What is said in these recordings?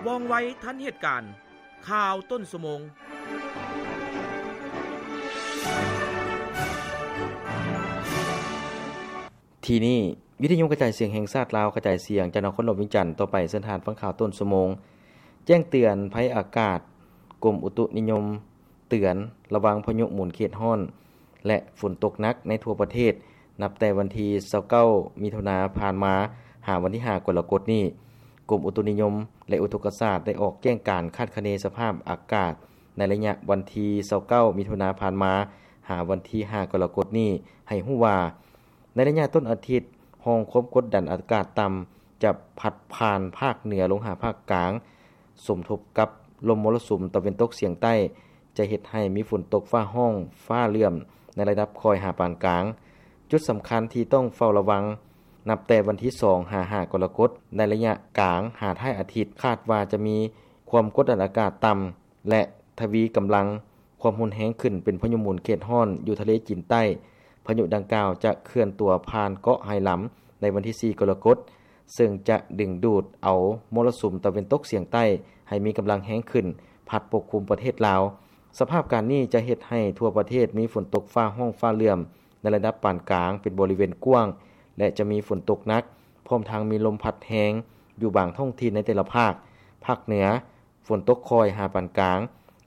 ວ່ອງໄວທັນເຫດການ. ຂ່າວຕົ້ນຊົ່ວໂມງ. ທີ່ນີ້ ວິທະຍຸກະຈາຍສຽງແຫ່ງຊາດລາວ ກະຈາຍສຽງຈາກນະຄອນຫຼວງວຽງຈັນ. ຕໍ່ໄປເຊີນທ່ານຟັງຂ່າວຕົ້ນຊົ່ວໂມງ. ແຈ້ງເຕືອນໄພອາກາດ, ກົມອຸຕຸນິຍົມເຕືອນລະວັງພາຍຸໝູນເຂດຮ້ອນ ແລະ ຝົນຕົກໜັກໃນທົ່ວປະເທດ ນັບແຕ່ວັນທີຊາວເກົ້າ ມິຖຸນາຜ່ານມາ ຫາວັນທີຫ້າ ກໍລະກົດນີ້. ກົມອຸຕຸນິຍົມ ແລະ ອຸທົກກະສາດ ໄດ້ອອກແຈ້ງການຄາດຄະເນສະພາບອາກາດ ໃນໄລຍະວັນທີຊາວເກົ້າ ມິຖຸນາຜ່ານມາ ຫາວັນທີຫ້າ ກໍລະກົດນີ້ ໃຫ້ຮູ້ວ່າ ໃນໄລຍະຕົ້ນອາທິດ, ຮ່ອງຄວາມກົດດັນອາກາດຕ່ຳ ຈະພັດຜ່ານພາກເໜືອລົງຫາພາກກາງ, ສົມທົບກັບລົມມໍລະສຸມຕາເວັນຕົກສຽງໃຕ້ ຈະເຮັດໃຫ້ມີຝົນຕົກຟ້າຮ້ອງຟ້າເຫຼື້ອມໃນລະດັບຄ່ອຍຫາປານກາງ. ຈຸດສຳຄັນທີ່ຕ້ອງເຝົ້າລະວັງ ນັບແຕ່ວັນທີສອງ ຫາ ຫ້າ ກໍລະກົດ, ໃນໄລຍະກາງຫາທ້າຍອາທິດ ຄາດວ່າຈະມີຄວາມກົດດັນອາກາດຕ່ຳ ແລະ ທະວີກຳລັງຄວາມຮຸນແຮງຂຶ້ນເປັນພາຍຸໝູນເຂດຮ້ອນຢູ່ທະເລຈີນໃຕ້. ພາຍຸດັ່ງກ່າວຈະເຄື່ອນຕົວຜ່ານເກາະໄຮລຳໃນວັນທີສີ່ ກໍລະກົດ, ເຊິ່ງຈະດຶງດູດເອົາມໍລະສຸມຕາເວັນຕົກສຽງໃຕ້ໃຫ້ມີກຳລັງແຮງຂຶ້ນ ພັດປົກຄຸມປະເທດລາວ. ສະພາບການນີ້ຈະເຮັດໃຫ້ທົ່ວປະເທດມີຝົນຕົກຟ້າຮ້ອງຟ້າເຫຼື້ອມໃນລະດັບປານກາງເປັນບໍລິເວນກວ້າງ ແລະ ຈະມີຝົນຕົກໜັກ, ພ້ອມທັງມີລົມພັດແຮງຢູ່ບາງທ້ອງຖິ່ນໃນແຕ່ລະພາກ, ພາກເໜືອ ຝົນຕົກຄ່ອຍຫາປານກາງ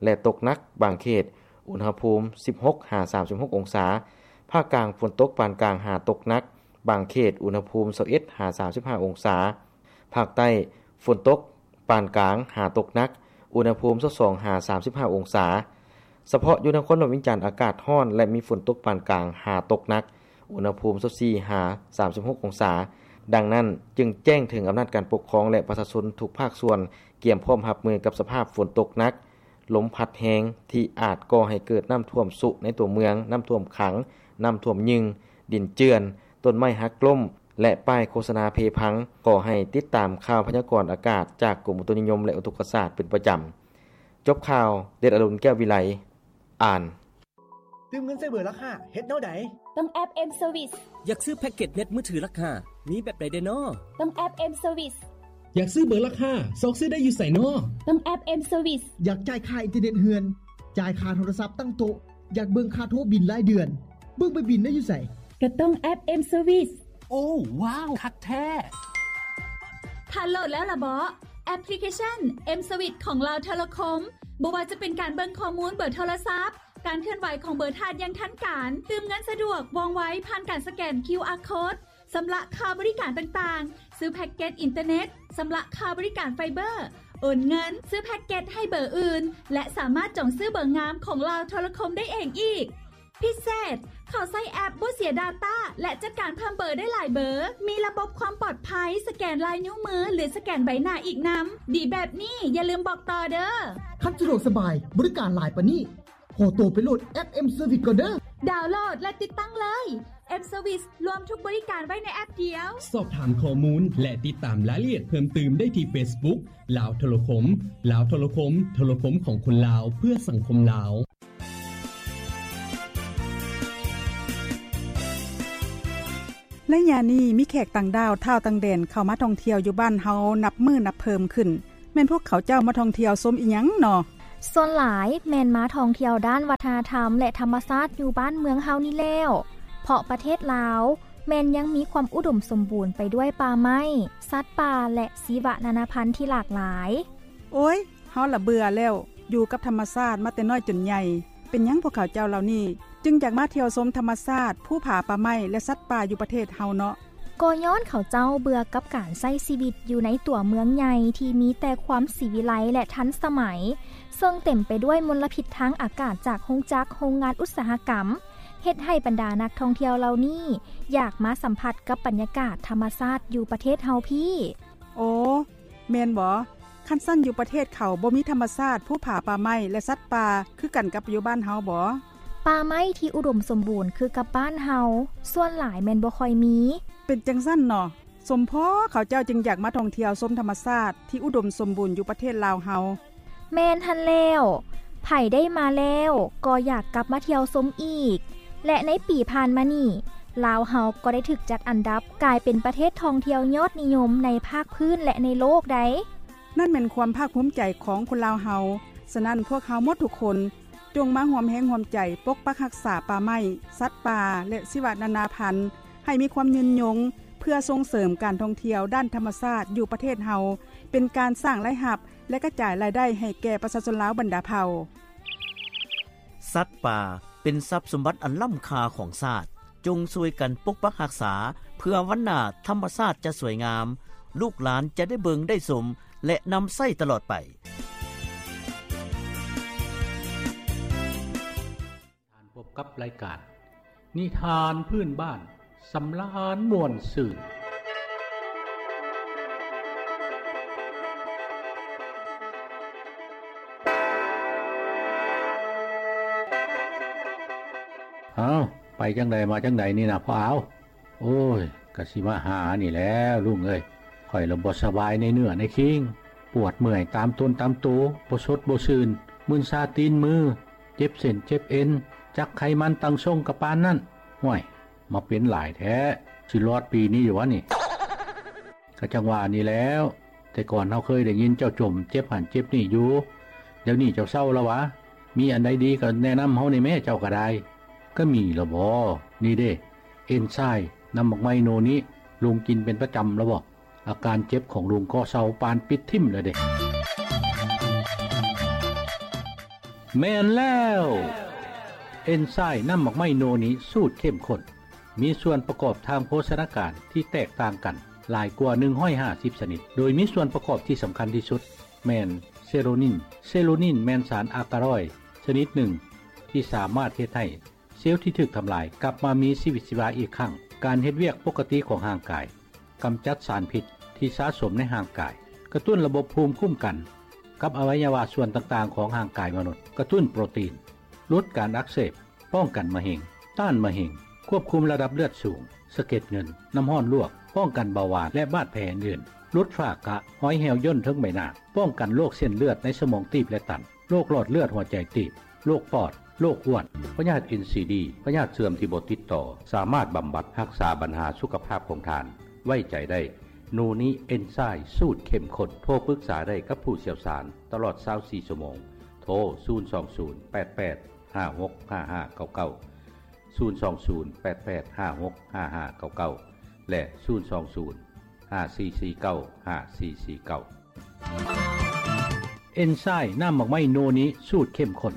ແລະ ຕົກໜັກບາງເຂດ, ອຸນຫະພູມ ສິບຫົກ ຫາ ສາມສິບຫົກ ອົງສາ. ພາກກາງ ຝົນຕົກປານກາງຫາຕົກໜັກບາງເຂດ, ອຸນຫະພູມ ຊາວເອັດ ຫາ ສາມສິບຫ້າ ອົງສາ. ພາກໃຕ້ ຝົນຕົກປານກາງຫາຕົກໜັກ, ອຸນຫະພູມ ຊາວສອງ ຫາ ສາມສິບຫ້າ ອົງສາ. ສະເພາະຢູ່ນະຄອນຫຼວງວຽງຈັນ ອາກາດຮ້ອນ ແລະ ມີຝົນຕົກປານກາງຫາຕົກໜັກ, ອຸນຫະພູມ ຊາວສີ່ ຫາ ສາມສິບຫົກ ອົງສາ. ດັ່ງນັ້ນ, ຈຶ່ງແຈ້ງເຖິງອຳນາດການປົກຄອງ ແລະ ປະຊາຊົນທຸກພາກສ່ວນ ກຽມພ້ອມຮັບມືກັບສະພາບຝົນຕົກໜັກ, ລົມພັດແຮງ ທີ່ອາດກໍ່ໃຫ້ເກີດນ້ຳຖ້ວມຊຸໃນຕົວເມືອງ, ນ້ຳຖ້ວມຂັງ, ນ້ຳຖ້ວມຍຶ່ງ, ດິນເຈື່ອນ, ຕົ້ນໄມ້ຫັກລົ້ມ ແລະ ປ້າຍໂຄສະນາເພພັງ. ຂໍໃຫ້ຕິດຕາມຂ່າວພະຍາກອນອາກາດຈາກກົມອຸຕຸນິຍົມ ແລະ ອຸທົກກະສາດເປັນປະຈຳ. ຈົບຂ່າວ, ເດດອະລຸນ ແກ້ວວິໄລ ອ່ານ. ຕື່ມເງິນໃສ່ເບີລາຄາ ເຮັດແນວໃດ? ຕ້ອງແອັບ M Service. ຢາກຊື້ແພັກເກັດເນັດມືຖືລາຄາ ມີແບບໃດແດ່ນໍ? ຕ້ອງແອັບ M Service. ຢາກຊື້ເບີລາຄາ ຊອກຊື້ໄດ້ຢູ່ໃສນໍ? ຕ້ອງແອັບ M Service. ຢາກຈ່າຍຄ່າອິນເຕີເນັດເຮືອນ, ຈ່າຍຄ່າໂທລະສັບຕັ້ງໂຕະ, ຢາກເບິ່ງຄ່າໂທບິນລາຍເດືອນ, ເບິ່ງໃບບິນໄດ້ຢູ່ໃສ? ກໍຕ້ອງແອັບ M Service. ໂອ້ ວ້າວ ຄັກແທ້! ທ່ານໂຫຼດແລ້ວລະເບາະ? ແອັບພລິເຄຊັນ M Service ຂອງລາວໂທລະຄົມ. ບໍ່ວ່າຈະເປັນການເບິ່ງຂໍ້ມູນເບີໂທລະສັບ, ການເຄື່ອນໄຫວຂອງເບີທາດຢ່າງທັນການ, ຕື່ມເງິນສະດວກ, ວ່ອງໄວ, ຜ່ານການສະແກນ ຄິວອາ ໂຄດ, ຊຳລະຄ່າບໍລິການຕ່າງໆ, ຊື້ແພັກເກັດອິນເຕີເນັດ, ຊຳລະຄ່າບໍລິການໄຟເບີ, ໂອນເງິນ, ຊື້ແພັກເກັດໃຫ້ເບີອື່ນ ແລະ ສາມາດຈອງຊື້ເບີງາມຂອງລາວໂທລະຄົມໄດ້ເອງອີກ. ພິເສດ, ເຂົ້າໃຊ້ແອັບບໍ່ເສຍດາຕ້າ ແລະ ຈັດການເພີ່ມເບີໄດ້ຫຼາຍເບີ, ມີລະບົບຄວາມປອດໄພ, ສະແກນລາຍນິ້ວມື ຫຼື ສະແກນໃບໜ້າອີກນຳ. ດີແບບນີ້ ຢ່າລືມບອກຕໍ່ເດີ້. ຄັນສະດວກສະບາຍ, ບໍລິການຫຼາຍປານນີ້, ຂໍໂຕໄປໂຫຼດແອັບ M Service ກ່ອນເດີ້. ດາວໂຫຼດ ແລະ ຕິດຕັ້ງເລີຍ. M Service ລວມທຸກບໍລິການໄວ້ໃນແອັບດຽວ. ສອບຖາມຂໍ້ມູນ ແລະ ຕິດຕາມລາຍລະອຽດເພີ່ມຕື່ມໄດ້ທີ່ Facebook ລາວໂທລະຄົມ. ລາວໂທລະຄົມ, ໂທລະຄົມຂອງຄົນລາວ ເພື່ອສັງຄົມລາວ. ໄລຍະນີ້ມີແຂກຕ່າງດ້າວ, ທ້າວຕ່າງແດນ ເຂົ້າມາທ່ອງທ່ຽວຢູ່ບ້ານເຮົານັບມື້ນັບເພີ່ມຂຶ້ນ. ແມ່ນພວກເຂົາເຈົ້າມາທ່ອງທ່ຽວຊົມອີ່ຫຍັງນໍ? ສ່ວນຫຼາຍແມ່ນມາທ່ອງທ່ຽວດ້ານວັດທະນະທຳ ແລະ ທຳມະຊາດຢູ່ບ້ານເມືອງເຮົານີ້ແລ້ວ, ເພາະປະເທດລາວແມ່ນຍັງມີຄວາມອຸດົມສົມບູນໄປດ້ວຍປ່າໄມ້, ສັດປ່າ ແລະ ຊີວະນານາພັນທີ່ຫຼາກຫຼາຍ. ໂອ້ຍ, ເຮົາລະເບື່ອແລ້ວ, ຢູ່ກັບທຳມະຊາດມາແຕ່ນ້ອຍຈົນໃຫຍ່. ເປັນຫຍັງພວກເຂົາເຈົ້າເຫຼົ່ານີ້ຈຶ່ງຢາກມາທ່ຽວຊົມທຳມະຊາດ, ພູຜາ, ປ່າໄມ້ ແລະ ສັດປ່າຢູ່ປະເທດເຮົາເນາະ? ກໍຍ້ອນເຂົາເຈົ້າເບື່ອກັບການໃຊ້ຊີວິດຢູ່ໃນຕົວເມືອງໃຫຍ່ທີ່ມີແຕ່ຄວາມສີວິໄລ ແລະ ທັນສະໄໝ, ເຊິ່ງເຕັມໄປດ້ວຍມົນລະພິດທາງອາກາດຈາກໂຮງຈັກ, ໂຮງງານອຸດສາຫະກຳ, ເຮັດໃຫ້ບັນດານັກທ່ອງທ່ຽວເຫຼົ່ານີ້ຢາກມາສຳຜັດກັບບັນຍາກາດທຳມະຊາດຢູ່ປະເທດເຮົາພີ້. ໂອ ແມ່ນບໍ? ຄັນຊັ້ນຢູ່ປະເທດເຂົາບໍ່ມີທຳມະຊາດ, ພູຜາ, ປ່າໄມ້ ແລະ ສັດປ່າ ຄືກັນກັບຢູ່ບ້ານເຮົາບໍ? ປ່າໄມ້ທີ່ອຸດົມສົມບູນຄືກັບບ້ານເຮົາ ສ່ວນຫຼາຍແມ່ນບໍ່ຄ່ອຍມີ. ເປັນຈັ່ງຊັ້ນເນາະ, ສົມພໍເຂົາເຈົ້າຈຶ່ງຢາກມາທ່ອງທ່ຽວຊົມທຳມະຊາດທີ່ອຸດົມສົມບູນຢູ່ປະເທດລາວເຮົາ. ແມ່ນຫັ້ນແລ້ວ, ໃຜໄດ້ມາແລ້ວກໍຢາກກັບມາທ່ຽວຊົມອີກ. ແລະ ໃນປີຜ່ານມານີ້, ລາວເຮົາກໍໄດ້ຖືກຈັດອັນດັບກາຍເປັນປະເທດທ່ອງທ່ຽວຍອດນິຍົມໃນພາກພື້ນ ແລະ ໃນໂລກໃດ໋. ນັ້ນແມ່ນຄວາມພາກພູມໃຈຂອງຄົນລາວເຮົາ. ສະນັ້ນ ພວກເຮົາໝົດທຸກຄົນ ຈົ່ງມາຮ່ວມແຮງຮ່ວມໃຈປົກປັກຮັກສາປ່າໄມ້, ສັດປ່າ ແລະ ຊີວະນານາພັນ ໃຫ້ມີຄວາມຍືນຍົງ ເພື່ອສົ່ງເສີມການທ່ອງທ່ຽວດ້ານທຳມະຊາດຢູ່ປະເທດເຮົາ, ເປັນການສ້າງລາຍຮັບ ແລະ ກະຈາຍລາຍໄດ້ໃຫ້ແກ່ປະຊາຊົນລາວບັນດາເຜົ່າ. ສັດປ່າເປັນຊັບສົມບັດອັນລ້ຳຄ່າຂອງຊາດ. ຈົ່ງຊ່ວຍກັນປົກປັກຮັກສາ ເພື່ອວັນໜ້າທຳມະຊາດຈະສວຍງາມ, ລູກຫຼານຈະໄດ້ເບິ່ງໄດ້ຊົມ ແລະ ນຳໃຊ້ຕະຫຼອດໄປ. ທ່ານພົບກັບລາຍການນິທານພື້ນບ້ານ ສຳລານມ່ວນຊື່ນ. ເອົ້າ ໄປຈັ່ງໃດມາຈັ່ງໃດນີ້ນະພໍ່ອາວ? ໂອ້ຍ ກະຊິມາຫານີ້ແຫຼະລຸງເອີຍ. ຂ້ອຍລະບໍ່ສະບາຍໃນເນື້ອໃນຄີງ, ປວດເມື່ອຍຕາມຕົນຕາມໂຕ, ບໍ່ສົດບໍ່ຊື່ນ, ມຶນຊາຕີນມື, ເຈັບເສັ້ນເຈັບເອັນ, ຈັກໄຂມັນຕັ້ງຊົງກະປານນັ້ນ. ຫ້ວຍ ມາເປັນຫຼາຍແທ້ ຊິລອດປີນີ້ຢູ່ຫວານີ້? ກະຈັ່ງວ່ານີ້ແຫຼ້ວ, ແຕ່ກ່ອນເຮົາເຄີຍໄດ້ຍິນເຈົ້າຈົ່ມເຈັບຫັ້ນເຈັບນີ້ຢູ່, ດຽວນີ້ເຈົ້າເຊົາລະຫວາ? ມີອັນໃດດີກະແນະນຳເຮົາແດ່ແມ້ ເຈົ້າກະໄດ້. ກະມີລະບໍ? ນີ້ເດ້ ເອັນຊາຍ ນ້ຳໝາກໄມ້ໂນນິ ລຸງກິນເປັນປະຈຳລະບໍ? ອາການເຈັບຂອງລຸງກໍເຊົາປານປິດຖິ້ມແລ້ວເດ້. ແມ່ນແລ້ວ ເອັນຊາຍ ນ້ຳໝາກໄມ້ໂນນິ ສູດເຂັ້ມຂຸ້ນ ມີສ່ວນປະກອບທາງໂພຊະນາການທີ່ແຕກຕ່າງກັນຫຼາຍກວ່າໜຶ່ງຮ້ອຍຫ້າສິບຊະນິດ, ໂດຍມີສ່ວນປະກອບທີ່ສຳຄັນທີ່ສຸດແມ່ນເຊໂຣນິນ. ເຊໂຣນິນແມ່ນສານອາກາຣອຍຊະນິດໜຶ່ງທີ່ສາມາດເຮັດໃຫ້ ເຊວທີ່ຖືກທຳລາຍກັບມາມີຊີວິດຊີວາອີກຄັ້ງ, ການເຮັດວຽກປົກກະຕິຂອງຮ່າງກາຍ, ກຳຈັດສານພິດທີ່ສະສົມໃນຮ່າງກາຍ, ກະຕຸ້ນລະບົບພູມຄຸ້ມກັນກັບອະໄວຍະວະສ່ວນຕ່າງໆຂອງຮ່າງກາຍມະນຸດ, ກະຕຸ້ນໂປຣຕີນ, ຫຼຸດການອັກເສບ, ປ້ອງກັນມະເຮັງ, ຕ້ານມະເຮັງ, ຄວບຄຸມລະດັບເລືອດສູງ, ສະເກັດເງິນ, ນ້ຳຮ້ອນລວກ, ປ້ອງກັນເບົາຫວານ ແລະ ບາດແຜອື່ນໆ, ຫຼຸດຝ້າກະ, ຮອຍແຫ້ວຍ່ນເທິງໃບໜ້າ, ປ້ອງກັນໂລກເສັ້ນເລືອດໃນສະໝອງຕີບ ແລະ ຕັນ. ໂລກຫຼອດເລືອດຫົວໃຈຕີບ, ໂລກປອດ, ໂລກອ້ວນ, ພະຍາດເອັນຊີດີ, ພະຍາດເຊື່ອມທີ່ບໍ່ຕິດຕໍ່, ສາມາດບຳບັດຮັກສາບັນຫາສຸຂະພາບຂອງທ່ານ. ໄວ້ໃຈໄດ້ ໂນນິເອັນຊາຍສູດເຂັ້ມຂຸ້ນ. ໂທປຶກສາໄດ້ກັບຜູ້ຊ່ຽວຊານຕະຫຼອດຊາວສີ່ຊົ່ວໂມງ. ໂທ ສູນສອງສູນ ແປດແປດ ຫ້າຫົກ ຫ້າຫ້າເກົ້າເກົ້າ, ສູນສອງສູນ ແປດແປດ ຫ້າຫົກ ຫ້າຫ້າເກົ້າເກົ້າ ແລະ ສູນສອງສູນ ຫ້າສີ່ສີ່ເກົ້າ ຫ້າສີ່ສີ່ເກົ້າ. ເອັນຊາຍ ນ້ຳໝາກໄມ້ໂນນິ ສູດເຂັ້ມຂຸ້ນ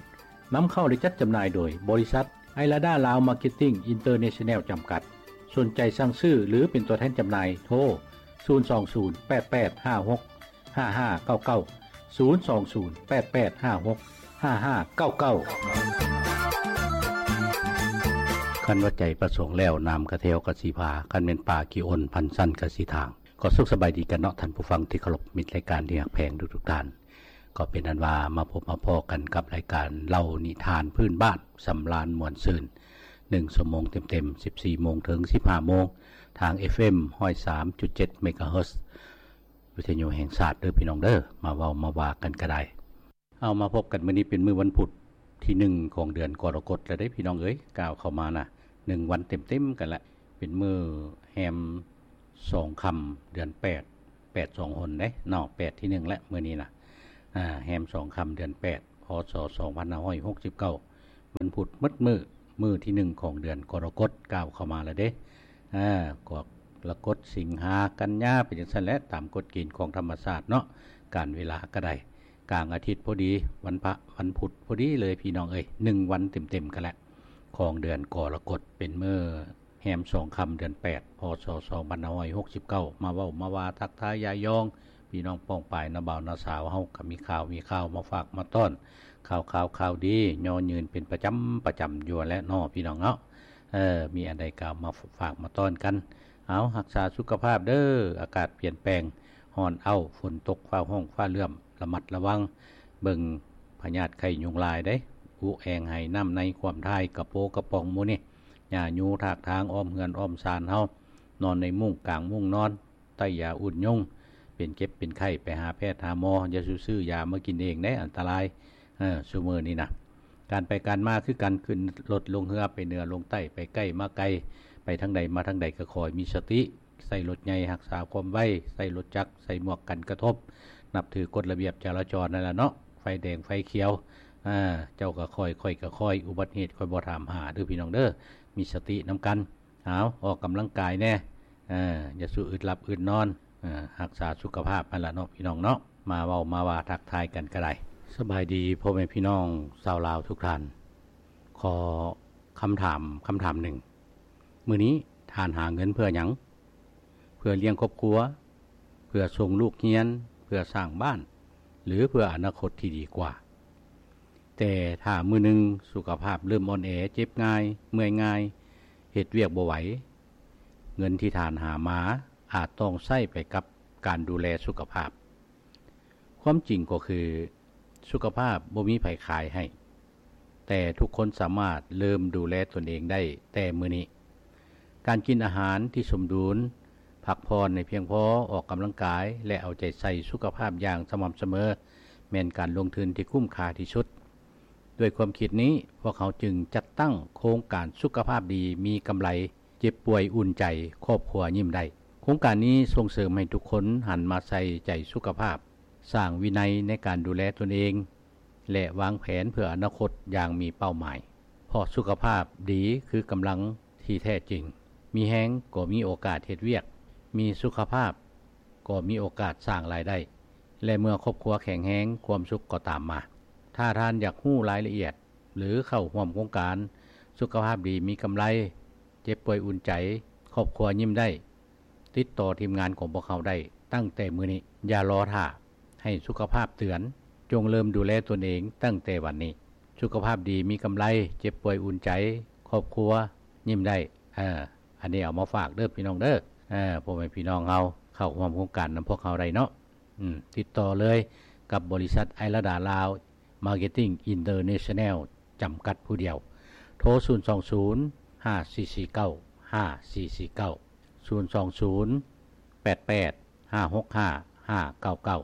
ນຳເຂົ້າ ແລະ ຈັດຈຳໜ່າຍໂດຍ ບໍລິສັດ ໄອລາດາ ລາວ ມາເກັດຕິງ ອິນເຕີເນຊັນແນວ ຈຳກັດ. ສົນໃຈສັ່ງຊື້ ຫຼື ເປັນຕົວແທນຈຳໜ່າຍ ໂທ ສູນສອງສູນ ແປດແປດ ຫ້າຫົກ ຫ້າຫ້າເກົ້າເກົ້າ, ສູນສອງສູນ ແປດແປດ ຫ້າຫົກ ຫ້າຫ້າເກົ້າເກົ້າ. ຄັນວ່າໃຈປະສົງແລ້ວ ນ້ຳກະແທວກະຊິພາ, ຄັນແມ່ນປາຂີ້ອົນ ພັນຊັ້ນກະຊິທາງ. ກໍສຸກສະບາຍດີກັນເນາະ ທ່ານຜູ້ຟັງທີ່ເຄົາລົບ, ມິດລາຍການທີ່ຮັກແພງທຸກໆທ່ານ. ກໍເປັນອັນວ່າມາພົບມາພໍ້ກັນກັບລາຍການເລົ່ານິທານພື້ນບ້ານ ສຳລານມ່ວນຊື່ນ ໜຶ່ງຊົ່ວໂມງເຕັມໆ ສິບສີ່ໂມງເຖິງສິບຫ້າໂມງ ທາງ ເອັຟເອັມ ຮ້ອຍສາມຈຸດເຈັດ ເມກາເຮີດ ວິທະຍຸແຫ່ງຊາດເດີພີ່ນ້ອງເດີ. ມາເວົ້າມາວ່າກັນກະໄດ້. ເອົາ ມາພົບກັນມື້ນີ້ເປັນມື້ວັນພຸດທີໜຶ່ງຂອງເດືອນກໍລະກົດແລ້ວເດ້ພີ່ນ້ອງເອີຍ, ກ້າວເຂົ້າມານະ ໜຶ່ງວັນເຕັມໆກັນລະ. ເປັນມື້ແຮມສອງຄ່ຳເດືອນແປດ ແປດສອງຫົນເດ້ເນາະ, ແປດທີໜຶ່ງແຫຼະມື້ນີ້ນະ. ອາ ແຮມສອງຄ່ຳເດືອນແປດ ພ.ສ. ສອງພັນຫ້າຮ້ອຍຫົກສິບເກົ້າ ວັນພຸດໝົດມື້, ມື້ທີໜຶ່ງຂອງເດືອນກໍລະກົດ ກ້າວເຂົ້າມາແລ້ວເດ້. ອາ ກໍລະກົດ ສິງຫາ ກັນຍາ ໄປຈັ່ງຊັ້ນແຫຼະ ຕາມກົດເກນຂອງທຳມະຊາດເນາະ, ການເວລາກະໄດ້ ກາງອາທິດພໍດີ, ວັນພະ ວັນພຸດພໍດີເລີຍພີ່ນ້ອງເອີຍ, ໜຶ່ງວັນເຕັມໆກັນແຫຼະ ຂອງເດືອນກໍລະກົດ. ເປັນມື້ແຮມສອງຄ່ຳເດືອນແປດ ພ.ສ. ສອງພັນຫ້າຮ້ອຍຫົກສິບເກົ້າ ມາເວົ້າມາວ່າທັກທາຍຢາຍຢອງ ພີ່ນ້ອງປ້ອງປາຍ ນ້າບ່າວນ້າສາວເຮົາກະມີຂ່າວມີຄາວມາຝາກມາຕ້ອນ, ຂ່າວຂາວຂ່າວດີ ຍໍຍືນເປັນປະຈຳປະຈຳຢູ່ຫັ້ນແຫຼະເນາະ ພີ່ນ້ອງເນາະ. ເອີ ມີອັນໃດກະເອົາມາຝາກມາຕ້ອນກັນ. ເອົາ ຮັກສາສຸຂະພາບເດີ, ອາກາດປ່ຽນແປງ, ຮ້ອນເອົ້າ, ຝົນຕົກ, ຟ້າຮ້ອງ, ຟ້າເຫຼື້ອມ, ລະມັດລະວັງເບິ່ງພະຍາດໄຂ້ຍຸງລາຍເດ້. ອຸແອງໄຫ ນ້ຳໃນ ຄວາມຖ່າຍ, ກະໂປກະປ໋ອງໝູ່ນີ້, ຫຍ້າຍູຖາກທາງອ້ອມເຮືອນອ້ອມຊານເຮົາ, ນອນໃນມຸ້ງກາງມຸ້ງນອນ, ໃຕ້ຢາອຸ່ນຍຸງ, ເປັນເຈັບເປັນໄຂ້ໄປຫາແພດຫາໝໍ, ຢ່າສູ່ຊື້ຢາມາກິນເອງເດ້, ອັນຕະລາຍ. ເອີ ຊຸມື້ນີ້ນະ ການໄປການມາຄືກັນ, ຂຶ້ນລົດລົງເຮືອ, ໄປເໜືອລົງໃຕ້, ໄປໃກ້ມາໄກ, ໄປທາງໃດມາທາງໃດກໍຂໍໃຫ້ມີສະຕິ, ໃຊ້ລົດໃຫຍ່ຮັກສາຄວາມໄວ, ໃຊ້ລົດຈັກ, ໃສ່ໝວກກັນກະທົບ, ນັບຖືກົດລະບຽບຈະລາຈອນນັ້ນລະເນາະ, ໄຟແດງໄຟຂຽວ, ເຈົ້າກໍຄ່ອຍ ຂ້ອຍກໍຄ່ອຍ, ອຸບັດເຫດຂ້ອຍບໍ່ຖາມຫາເດີ້ພີ່ນ້ອງເດີ້, ມີສະຕິນຳກັນ. ເອົາ ອອກກຳລັງກາຍແດ່, ຢ່າສູ່ອຶດຫຼັບອຶດນອນ, ຮັກສາສຸຂະພາບຫັ້ນລະເນາະພີ່ນ້ອງເນາະ. ມາເວົ້າມາວ່າທັກທາຍກັນກໍໄດ້. ສະບາຍດີພໍ່ແມ່ພີ່ນ້ອງຊາວລາວທຸກທ່ານ. ຂໍຄຳຖາມ ຄຳຖາມໜຶ່ງ, ມື້ນີ້ທ່ານຫາເງິນເພື່ອຫຍັງ? ເພື່ອລ້ຽງຄອບຄົວ, ເພື່ອສົ່ງລູກຮຽນ, ເພື່ອສ້າງບ້ານ ຫຼື ເພື່ອອະນາຄົດທີ່ດີກວ່າ? ແຕ່ຖ້າມື້ໜຶ່ງສຸຂະພາບເລີ່ມອ່ອນແອ, ເຈັບງ່າຍ, ເມື່ອຍງ່າຍ, ເຮັດວຽກບໍ່ໄຫວ, ເງິນທີ່ທ່ານຫາມາອາດຕ້ອງໃຊ້ໄປກັບການດູແລສຸຂະພາບ. ຄວາມຈິງກໍຄື ສຸຂະພາບບໍ່ມີໃຜຂາຍໃຫ້, ແຕ່ທຸກຄົນສາມາດເລີ່ມດູແລຕົນເອງໄດ້ແຕ່ມື້ນີ້. ການກິນອາຫານທີ່ສົມດຸນ, ພັກຜ່ອນໃຫ້ພຽງພໍ, ອອກກຳລັງກາຍ ແລະ ເອົາໃຈໃສ່ສຸຂະພາບຢ່າງສະໝ່ຳສະເໝີ ແມ່ນການລົງທຶນທີ່ຄຸ້ມຄ່າທີ່ສຸດ. ດ້ວຍຄວາມຄິດນີ້, ພວກເຮົາຈຶ່ງຈັດຕັ້ງໂຄງການສຸຂະພາບດີມີກຳໄລ, ເຈັບປ່ວຍອຸ່ນໃຈ, ຄອບຄົວຍິ້ມໄດ້. ໂຄງການນີ້ສົ່ງເສີມໃຫ້ທຸກຄົນຫັນມາໃສ່ໃຈສຸຂະພາບ, ສ້າງວິໄນໃນການດູແລຕົນເອງ ແລະ ວາງແຜນເພື່ອອະນາຄົດຢ່າງມີເປົ້າໝາຍ. ເພາະສຸຂະພາບດີຄືກຳລັງທີ່ແທ້ຈິງ. ມີແຮງກໍມີໂອກາດເຮັດວຽກ, ມີສຸຂະພາບກໍມີໂອກາດສ້າງລາຍໄດ້ ແລະ ເມື່ອຄອບຄົວແຂງແຮງ, ຄວາມສຸກກໍຕາມມາ. ຖ້າທ່ານຢາກຮູ້ລາຍລະອຽດ ຫຼື ເຂົ້າຮ່ວມໂຄງການສຸຂະພາບດີມີກຳໄລ, ເຈັບປ່ວຍອຸ່ນໃຈ, ຄອບຄົວຍິ້ມໄດ້, ຕິດຕໍ່ທີມງານຂອງພວກເຮົາໄດ້ຕັ້ງແຕ່ມື້ນີ້. ຢ່າລໍຖ້າໃຫ້ສຸຂະພາບເຕືອນ, ຈົ່ງເລີ່ມດູແລຕົນເອງຕັ້ງແຕ່ວັນນີ້. ສຸຂະພາບດີມີກຳໄລ, ເຈັບປ່ວຍອຸ່ນໃຈ, ຄອບຄົວຍິ້ມໄດ້. ເອີ ອັນນີ້ເອົາມາຝາກເດີ້ພີ່ນ້ອງເດີ້, ເອີ ພໍ່ແມ່ພີ່ນ້ອງເຮົາເຂົ້າຮ່ວມໂຄງການນຳພວກເຮົາໄດ້ເນາະ. ອືມ ຕິດຕໍ່ເລີຍກັບບໍລິສັດໄອລະດາລາວ Marketing International ຈຳກັດຜູ້ດຽວ. ໂທ ສູນສອງສູນ ຫ້າສີ່ສີ່ເກົ້າ ຫ້າສີ່ສີ່ເກົ້າ, ສູນສອງສູນ ແປດແປດ ຫ້າຫົກຫ້າ ຫ້າເກົ້າເກົ້າ,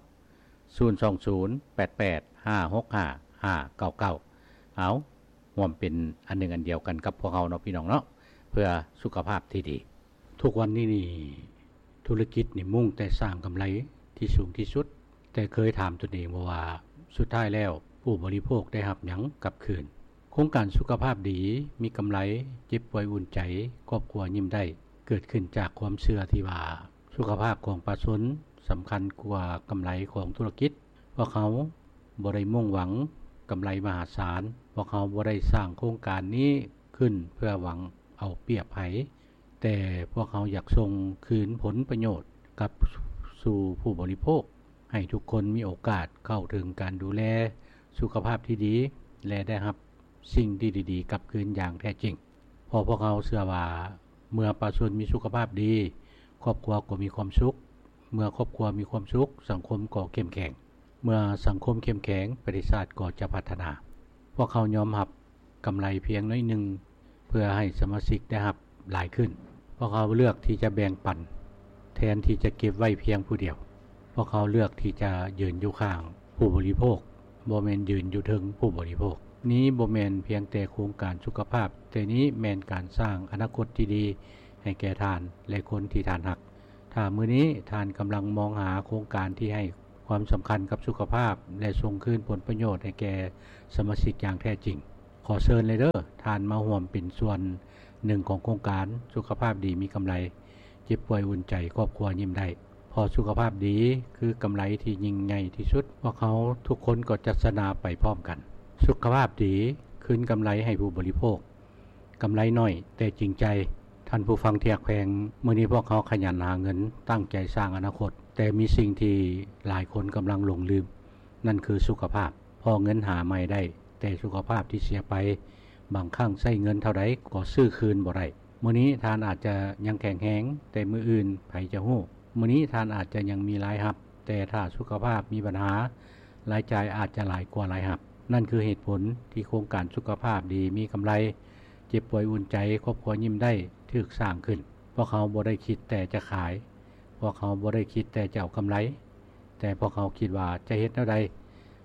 ສູນສອງສູນ ແປດແປດ ຫ້າຫົກຫ້າ ຫ້າເກົ້າເກົ້າ. ເອົາ ຮ່ວມເປັນອັນໜຶ່ງອັນດຽວກັນກັບພວກເຮົາເນາະ ພີ່ນ້ອງເນາະ, ເພື່ອສຸຂະພາບທີ່ດີ. ທຸກວັນນີ້ນີ້ ທຸລະກິດນີ້ມຸ່ງແຕ່ສ້າງກຳໄລທີ່ສູງທີ່ສຸດ, ແຕ່ເຄີຍຖາມຕົນເອງບໍ່ວ່າ ສຸດທ້າຍແລ້ວຜູ້ບໍລິໂພກໄດ້ຮັບຫຍັງກັບຄືນ? ໂຄງການສຸຂະພາບດີ, ມີກຳໄລ, ເຈັບປ່ວຍອຸ່ນໃຈ, ຄອບຄົວຍິ້ມໄດ້ ເກີດຂຶ້ນຈາກຄວາມເຊື່ອທີ່ວ່າ ສຸຂະພາບຂອງປະຊາຊົນສຳຄັນກວ່າກຳໄລຂອງທຸລະກິດ. ພວກເຮົາບໍ່ໄດ້ມຸ່ງຫວັງກຳໄລມະຫາສານ, ພວກເຮົາບໍ່ໄດ້ສ້າງໂຄງການນີ້ຂຶ້ນເພື່ອຫວັງເອົາປຽບໃຜ, ແຕ່ພວກເຮົາຢາກສົ່ງຄືນຜົນປະໂຫຍດກັບສູ່ຜູ້ບໍລິໂພກ, ໃຫ້ທຸກຄົນມີໂອກາດເຂົ້າເຖິງການດູແລສຸຂະພາບທີ່ດີ ແລະ ໄດ້ຮັບສິ່ງທີ່ດີໆກັບຄືນຢ່າງແທ້ຈິງ. ເພາະພວກເຮົາເຊື່ອວ່າ ເມື່ອປະຊາຊົນມີສຸຂະພາບດີ, ຄອບຄົວກໍມີຄວາມສຸກ, ເມື່ອຄອບຄົວມີຄວາມສຸກ, ສັງຄົມກໍເຂັ້ມແຂງ, ເມື່ອສັງຄົມເຂັ້ມແຂງ, ປະເທດຊາດກໍຈະພັດທະນາ. ພວກເຮົາຍອມຮັບກຳໄລພຽງໜ້ອຍໜຶ່ງ ເພື່ອໃຫ້ສະມາຊິກໄດ້ຮັບຫຼາຍຂຶ້ນ. ພວກເຮົາເລືອກທີ່ຈະແບ່ງປັນ ແທນທີ່ຈະເກັບໄວ້ພຽງຜູ້ດຽວ. ພວກເຮົາເລືອກທີ່ຈະຢືນຢູ່ຂ້າງຜູ້ບໍລິໂພກ, ບໍ່ແມ່ນຢືນຢູ່ເທິງຜູ້ບໍລິໂພກ. ນີ້ບໍ່ແມ່ນພຽງແຕ່ໂຄງການສຸຂະພາບ, ແຕ່ນີ້ແມ່ນການສ້າງອະນາຄົດທີ່ດີໃຫ້ແກ່ທ່ານ ແລະ ຄົນທີ່ທ່ານຮັກ. ຖ້າມື້ນີ້ທ່ານກຳລັງມອງຫາໂຄງການທີ່ໃຫ້ຄວາມສຳຄັນກັບສຸຂະພາບ ແລະ ສົ່ງຄືນຜົນປະໂຫຍດໃຫ້ແກ່ສະມາຊິກຢ່າງແທ້ຈິງ, ຂໍເຊີນເລີຍເດີ້ ທ່ານມາຮ່ວມເປັນສ່ວນໜຶ່ງຂອງໂຄງການສຸຂະພາບດີມີກຳໄລ, ເຈັບປ່ວຍອຸ່ນໃຈ, ຄອບຄົວຍິ້ມໄດ້. ເພາະສຸຂະພາບດີຄືກຳໄລທີ່ຍິ່ງໃຫຍ່ທີ່ສຸດ. ພວກເຮົາທຸກຄົນກໍຈະຊະນະໄປພ້ອມກັນ. ສຸຂະພາບດີຄືນກຳໄລໃຫ້ຜູ້ບໍລິໂພກ. ກຳໄລໜ້ອຍແຕ່ຈິງໃຈ. ທ່ານຜູ້ຟັງທີ່ຮັກແພງ, ມື້ນີ້ພວກເຮົາຂະຫຍັນຫາເງິນ, ຕັ້ງໃຈສ້າງອະນາຄົດ, ແຕ່ມີສິ່ງທີ່ຫຼາຍຄົນກຳລັງຫຼົງລືມ, ນັ້ນຄືສຸຂະພາບ. ເພາະເງິນຫາໃໝ່ໄດ້, ແຕ່ສຸຂະພາບທີ່ເສຍໄປ, ບາງຄັ້ງໃຊ້ເງິນເທົ່າໃດກໍຊື້ຄືນບໍ່ໄດ້. ມື້ນີ້ທ່ານອາດຈະຍັງແຂງແຮງ, ແຕ່ມື້ອື່ນໃຜຈະຮູ້? ມື້ນີ້ທ່ານອາດຈະຍັງມີລາຍຮັບ, ແຕ່ຖ້າສຸຂະພາບມີບັນຫາ, ລາຍຈ່າຍອາດຈະຫຼາຍກວ່າລາຍຮັບ. ນັ້ນຄືເຫດຜົນທີ່ໂຄງການສຸຂະພາບດີມີກຳໄລ, ເຈັບປ່ວຍອຸ່ນໃຈ, ຄອບຄົວຍິ້ມໄດ້, ຖືກສ້າງຂຶ້ນ. ພວກເຮົາບໍ່ໄດ້ຄິດແຕ່ຈະຂາຍ, ພວກເຮົາບໍ່ໄດ້ຄິດແຕ່ຈະເອົາກຳໄລ, ແຕ່ພວກເຮົາຄິດວ່າຈະເຮັດແນວໃດ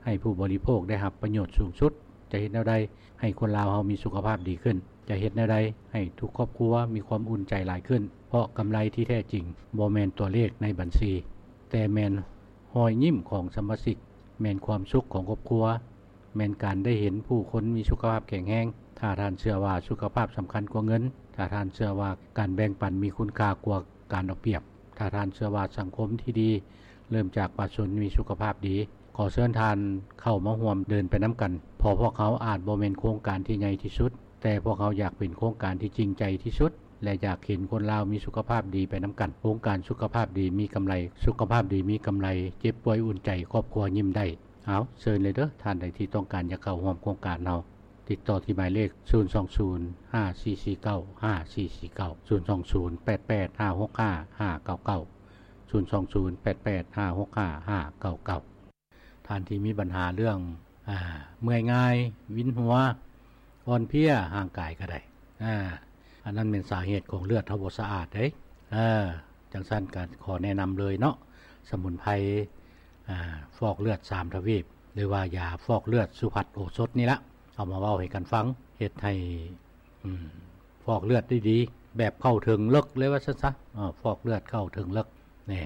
ໃຫ້ຜູ້ບໍລິໂພກໄດ້ຮັບປະໂຫຍດສູງສຸດ, ຈະເຮັດແນວໃດໃຫ້ຄົນລາວເຮົາມີສຸຂະພາບດີຂຶ້ນ. ຈະເຮັດແນວໃດໃຫ້ທຸກຄອບຄົວມີຄວາມອຸ່ນໃຈຫຼາຍຂຶ້ນ? ເພາະກຳໄລທີ່ແທ້ຈິງບໍ່ແມ່ນຕົວເລກໃນບັນຊີ, ແຕ່ແມ່ນຮອຍຍິ້ມຂອງສະມາຊິກ, ແມ່ນຄວາມສຸກຂອງຄອບຄົວ, ແມ່ນການໄດ້ເຫັນຜູ້ຄົນມີສຸຂະພາບແຂງແຮງ. ຖ້າທ່ານເຊື່ອວ່າສຸຂະພາບສຳຄັນກວ່າເງິນ, ຖ້າທ່ານເຊື່ອວ່າການແບ່ງປັນມີຄຸນຄ່າກວ່າການເອົາປຽບ, ຖ້າທ່ານເຊື່ອວ່າສັງຄົມທີ່ດີເລີ່ມຈາກປະຊາຊົນມີສຸຂະພາບດີ, ຂໍເຊີນທ່ານເຂົ້າມາຮ່ວມເດີນໄປນຳກັນ, ເພາະພວກເຮົາອາດບໍ່ແມ່ນໂຄງການທີ່ໃຫຍ່ທີ່ສຸດ, ແຕ່ພວກເຮົາຢາກເປັນໂຄງການທີ່ຈິງໃຈທີ່ສຸດ ແລະ ຢາກເຫັນຄົນລາວມີສຸຂະພາບດີໄປນຳກັນ. ໂຄງການສຸຂະພາບດີມີກຳໄລ, ສຸຂະພາບດີມີກຳໄລ, ເຈັບປ່ວຍອຸ່ນໃຈ, ຄອບຄົວຍິ້ມໄດ້. ເອົາ, ເຊີນເລີຍເດີ້, ທ່ານໃດທີ່ຕ້ອງການຢາກເຂົ້າຮ່ວມໂຄງການເຮົາ, ຕິດຕໍ່ທີ່ໝາຍເລກ ສູນສອງສູນ ຫ້າສີ່ສີ່ເກົ້າ ຫ້າສີ່ສີ່ເກົ້າ, ສູນສອງສູນ ແປດແປດຫ້າຫົກຫ້າ ຫ້າເກົ້າເກົ້າ, ສູນສອງສູນ ແປດແປດຫ້າຫົກຫ້າ ຫ້າເກົ້າເກົ້າ. ທ່ານທີ່ມີບັນຫາເລື່ອງ ອາ ເມື່ອຍງ່າຍ, ວິນຫົວ, ອ່ອນເພຍຮ່າງກາຍກໍໄດ້, ອາ ອັນນັ້ນແມ່ນສາເຫດຂອງເລືອດເຮົາບໍ່ສະອາດເດ້. ເອີ ຈັ່ງຊັ້ນກໍຂໍແນະນຳເລີຍເນາະ, ສະໝຸນໄພ ອາ ຟອກເລືອດສາມທະວີບ ຫຼືວ່າຢາຟອກເລືອດສຸພັດໂອສົດນີ້ລະ, ເອົາມາເວົ້າໃຫ້ກັນຟັງ, ເຮັດໃຫ້ ອືມ ຟອກເລືອດໄດ້ດີ ແບບເຂົ້າເຖິງເລິກເລີຍວ່າຊັ້ນຊະ. ເອີ ຟອກເລືອດເຂົ້າເຖິງເລິກ ແນ່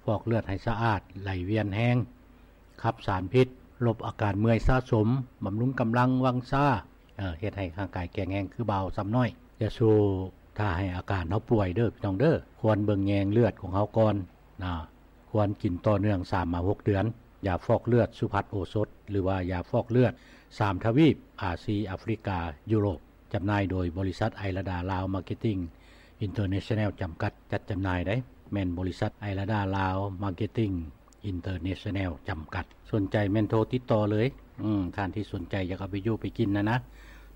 ຟອກເລືອດໃຫ້ສະອາດ, ໄຫຼວຽນແຮງ, ຂັບສານພິດ, ລົບອາການເມື່ອຍສະສົມ, ບຳລຸງກຳລັງວັງຊາ, ເອີ ເຮັດໃຫ້ຮ່າງກາຍແຂງແຮງຄືບ່າວຊຳນ້ອຍ. ຢ່າສູ່ຖ້າໃຫ້ອາການເຮົາປ່ວຍເດີ້ ພີ່ນ້ອງເດີ້, ຄວນເບິ່ງແຍງເລືອດຂອງເຮົາກ່ອນນະ. ຄວນກິນຕໍ່ເນື່ອງສາມມາຫົກເດືອນ. ຢາຟອກເລືອດສຸພັດໂອສົດ ຫຼືວ່າຢາຟອກເລືອດສາມທະວີບ ອາຊີ ອາຟຣິກາ ຢູໂຣບ. ຈຳໜ່າຍໂດຍບໍລິສັດໄອລະດາລາວມາເກັດຕິງອິນເຕີເນຊັນແນວຈຳກັດ ຈັດຈຳໜ່າຍໄດ໋, ແມ່ນບໍລິສັດໄອລະດາລາວມາເກັດຕິງອິນເຕີເນຊັນແນວຈຳກັດ. ສົນໃຈແມ່ນໂທຕິດຕໍ່ເລີຍ. ອືມ ທ່ານທີ່ສົນໃຈຢາກເອົາໄປຢູ່ໄປກິນນະນະ,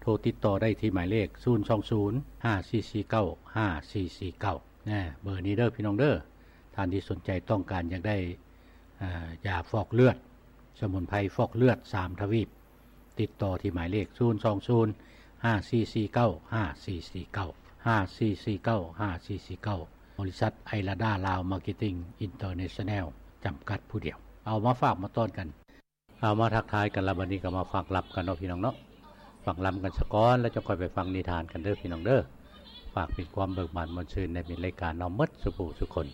ໂທຕິດຕໍ່ໄດ້ທີ່ໝາຍເລກ ສູນສອງສູນ ຫ້າສີ່ສີ່ເກົ້າ ຫ້າສີ່ສີ່ເກົ້າ ນະ, ເບີນີ້ເດີ້ ພີ່ນ້ອງເດີ້. ທ່ານທີ່ສົນໃຈຕ້ອງການຢາກໄດ້ ອາ ຢາຟອກເລືອດ, ສະໝຸນໄພຟອກເລືອດສາມທະວີບ, ຕິດຕໍ່ທີ່ໝາຍເລກ ສູນສອງສູນ ຫ້າສີ່ສີ່ເກົ້າ ຫ້າສີ່ສີ່ເກົ້າ, ຫ້າສີ່ສີ່ເກົ້າ ຫ້າສີ່ສີ່ເກົ້າ, ບໍລິສັດໄອລະດາລາວມາເກັດຕິງອິນເຕີເນຊັນແນວຈຳກັດຜູ້ດຽວ. ເອົາ ມາຝາກມາຕ້ອນກັນ. ເອົາ ມາທັກທາຍກັນລະ, ບັດນີ້ກໍມາຟັງລຳກັນເນາະ ພີ່ນ້ອງເນາະ. ຟັງລຳກັນສາກ່ອນ ແລ້ວຈັ່ງຄ່ອຍໄປຟັງນິທານກັນເດີ້ ພີ່ນ້ອງເດີ້. ຝາກເປັນຄວາມເບີກບານມ່ວນຊື່ນໃນມິດລາຍການເຮົາໝົດສູ່ຜູ້ສູ່ຄົນ.